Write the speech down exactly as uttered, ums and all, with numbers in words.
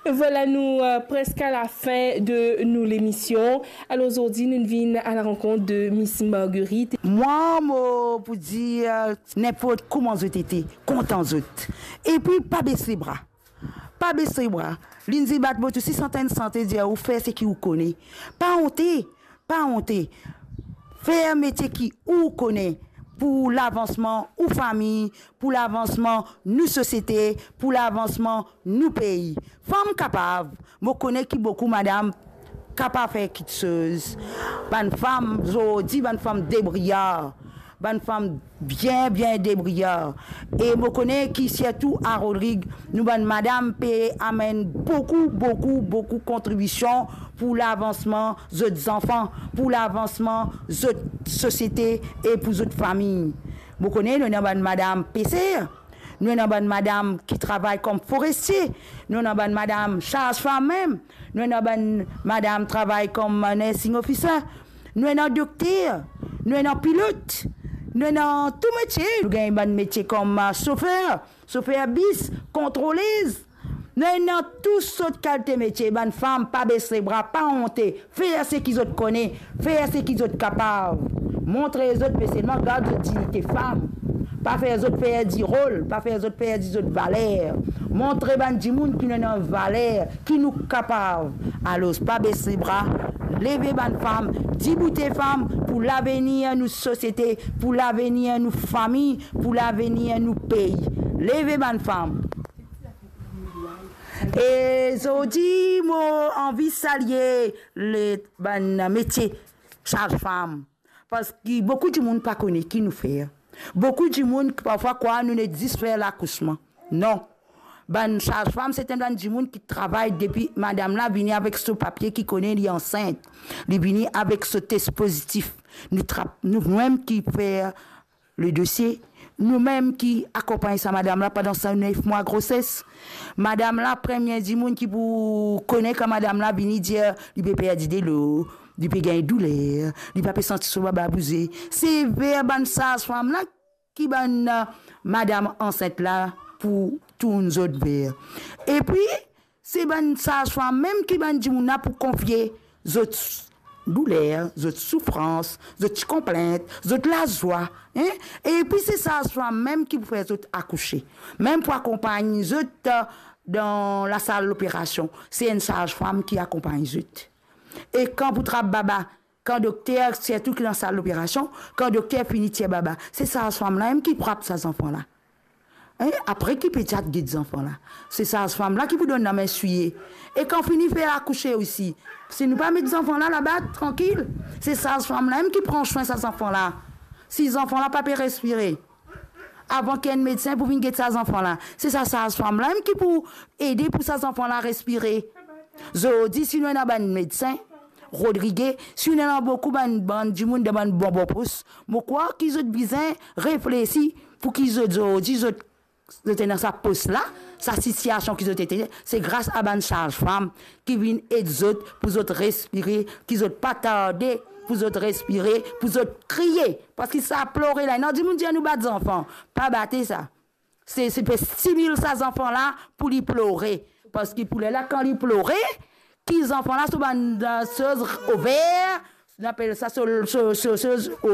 Vwala, nou, euh, preske a lafin de nou lemision. Alor, zordi, nou vinn a la rankont de Miss Marguerite. Mwa, mo pou dir, ninport kouma zot ete, kontan zot. Epi, pa bes lebra. Pa bes lebra. Lindsay Batbot osi, santen sante, dir ou fer seki ou kone. Pa onte, pa onte. Fer metie ki ou kone pou lavansman ou fami, pou lavansman nou sosiete, pou lavansman nou pei. Fam kapav, mo kone ki boukou madam kapav fer kiksoz. Bann fam, zordi, bann fam debriyar. Bann fam bien, bien debriyar. E mo kone ki sirtou a Rodrig, nou bann madam pe amenn boukou, boukou, boukou kontribision pou lavansman zot zanfan, pou lavansman zot sosiete e pou zot fami. Mo kone nou ena bann madam peser, nou ena bann madam ki travay kom forestie, nou ena bann madam sazfam mem, nou ena bann madam travay kom nursing officer, nou ena dokter, nou ena pilot, nou ena tou metie. Nou gagn bann metie kom, ah, sofer, sofer bis, kontrolez. Nou ena tou sort kalite metie. Bann fam, pa bes lebra, pa onte. Fer seki zot kone, fer seki zot kapav. Montre zot, me selman gard zot dignite fam. Pa fer zot perdi rol, pa fer zot perdi zot valer. Montre bann dimoun ki nou ena valer, ki nou kapav. Alor, pa bes lebra, leve bann fam, diboute fam pou lavenir nou sosiete, pou lavenir nou fami, pou lavenir nou pei. Leve bann fam. E zordi, mo anvi salie le bann metie sazfam, parski boukou dimoun pa kone ki nou fer. Boukou dimoun parfwa krwar nou net zis fer lakousman. Non. Bann sazfam, se enn bann dimoun ki travay depi madam la vini avek so papie ki kone li ansint. Li vini avek so tes pozitif. Nou trap, nou mem ki fer le dosie, nou mem ki akonpagn sa madam la pandan sa nef mwa groses. Madam la, premie dimoun ki pou kone kan madam la vini dir li pe perdi delo, li pe gagn douler, li pa pe santi so baba bouze. Se ver bann sazfam la ki bann, eh, madam ansint la pou tourn zot ver. Epi, se bann sazfam mem ki bann dimoun la pou konfie zot douler, zot soufrans, zot ti konplint, zot lazwa, hein? Epi se sazfam mem ki pou fer zot akouse, mem pou akonpagn zot, eh, dan lasal loperasion. Se enn sazfam ki akonpagn zot. E kan pou trap baba, kan dokter, sirtou ki dan sal loperasion, kan dokter fini tir baba, se sazfam la mem ki pou trap sa zanfan la. Hein? Apre ki pediat get zanfan la. Se sazfam la ki pou donn lame swiye. E kan fini fer akouse osi, si nou pa met zanfan la laba trankil, se sazfam la mem ki pran swin sa zanfan la. Si zanfan la pa pe respire, avan ki enn medsin pou vinn get sa zanfan la, se sa sazfam la mem ki pou ede pou sa zanfan la respire. Zordi, si nou ena bann medsin, Rodrige, si nou ena boukou bann, bann dimoun dan bann bon, bon pos, mo krwar ki zot bizin reflesi pou ki zot, zordi, zot, zot ena sa pos la, sa sitiasion ki zot ete, se gras a bann sazfam ki vinn ed zot pou zot respire, ki zot pa tarde pou zot respire, pou zot kriye. Parski sa plore la, ena dimoun dir nou bat zanfan, pa bate sa. Se, se pe stimil sa zanfan la pou li plore. Parski pou lerla kan li plore, ki zanfan la so bann, eh, soz over, nou apel sa so, so, so, soz